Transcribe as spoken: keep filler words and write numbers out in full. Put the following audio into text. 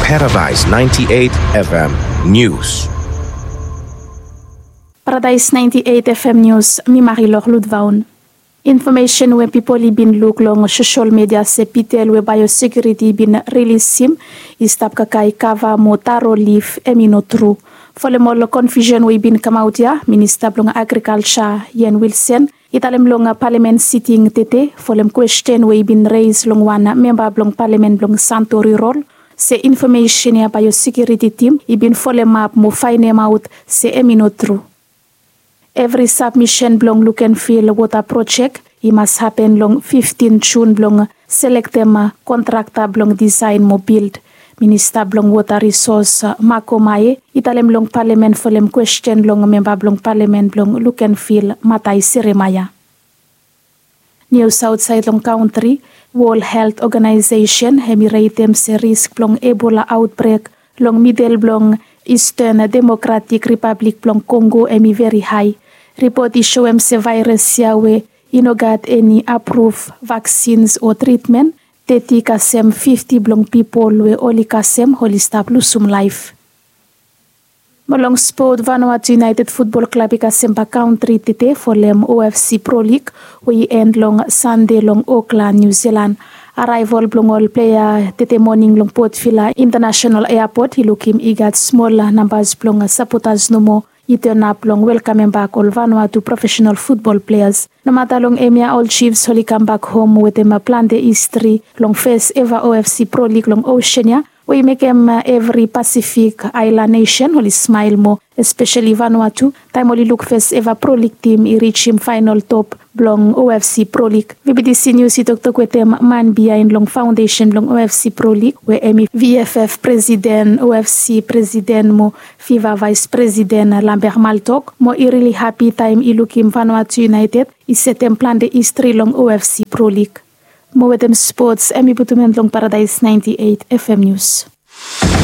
Paradise ninety-eight F M News. Paradise ninety-eight F M News, mi Marilor Ludvaun. Infomesen we pipol i bin luk long sosol media se pitel we baeosekiuriti i bin rilisim i stap kakae kava mo taro lif, hemi no tru. Folem ol konfiusen we i bin kamaot ia, Minista blong Agrikalja, Ian Wilson, i talem long palamen siting tede folem kwesten we i bin reis long wan memba blong palamen blong Santori Rol, se infomesen ia baeosekiuriti tim i bin folemap mo faenemaot se hemi no tru. Evri sabmisen blong Lukenvil wota projek i mas hapen long fiftin Jun blong selektem kontrakta blong disaen mo bild. Minista blong Wota Risos, Mako Mae, i talem long palamen folem kwesten long memba blong palamen blong Lukenvil, Matai Seremaia. Nius aotsaed long kantri. Wol Helt Oganaesesen hemi retem se risk blong Ebola aotbrek long midel blong Isten Democratic Republic blong Kongo hemi veri hae. Ripot i soem se vaeras ia we i no gat eni apruv vaksins o tritmen, teti kasem fifti blong pipol we oli kasem oli stap lusum laef. Mo long spot, Vanuatu United Futbol Klab i kasem bak kantri tede folem O F C Pro League we i en long Sande long Okla, Niu Silan. Araevol blong ol plea tede moning long Port Vila Intanasenal Eapot i lukim i gat smol nambas blong sapotas nomo i tonap blong welkamem bak ol Vanuatu profesenal futbol pleas. Nomata long hemia ol Chiefs oli kambak hom wetem plante histri long fes eva O F C Pro League long osen ia, we i mekem evri Pasifik aelan nesen oli smael moa, espeseli Vanuatu, taem oli luk fes eva Pro League tim i rijim faenol top blong O F C Pro League. V B T C Nius i toktok wetem man biaen long faondesen blong O F C Pro League, we hemi V F F presiden, O F C presiden mo FIFA vaes presiden, Lambert Maltok, mo i rili hapi taem i lukim Vanuatu United i setem plante histri long O F C Pro League. Mo wetem spots, hemi putum en long Paradise ninety-eight F M News.